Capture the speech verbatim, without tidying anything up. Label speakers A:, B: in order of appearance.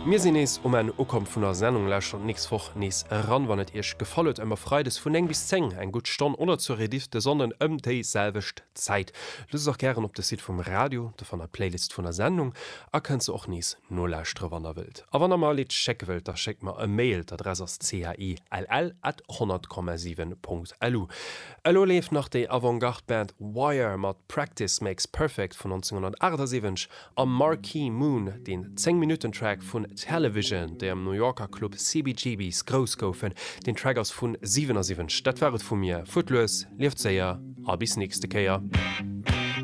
A: Mir sinn nees um Enn ukomm vun der Sendung. Lauschtert d'nächst Woch nees eran, wann et iech gefall huet, ëmmer freides vun néng bis zéng, eng gutt Stonn, oder zur Rediff de Sonnden ëm déi selwecht Zäit. Luusst och gären op de Site vum Radio, do fannt der d'Playlist vun der Sendung a kënnt se och nees nolauschtere wann der wëllt. A wann der mer e Lidd schécke wëllt, da schéckt mer e Mail, d'Adress ass chill at honnert Komma siwen Punkt lu. Elo leeft nach déi Avantgarde-Band Wire mat Practice Makes Perfect vun nonzénghunnertaachtsiwwenzeg a Marquee Moon, deen zéng-Minutten-Track vun Television, déi am New Yorker Club C B G B's grouss goufen. Den Track ass vun siwenasiwwenzeg. Dat war et vu mir. Fuert lues, lieft séier a bis nächste Kéier.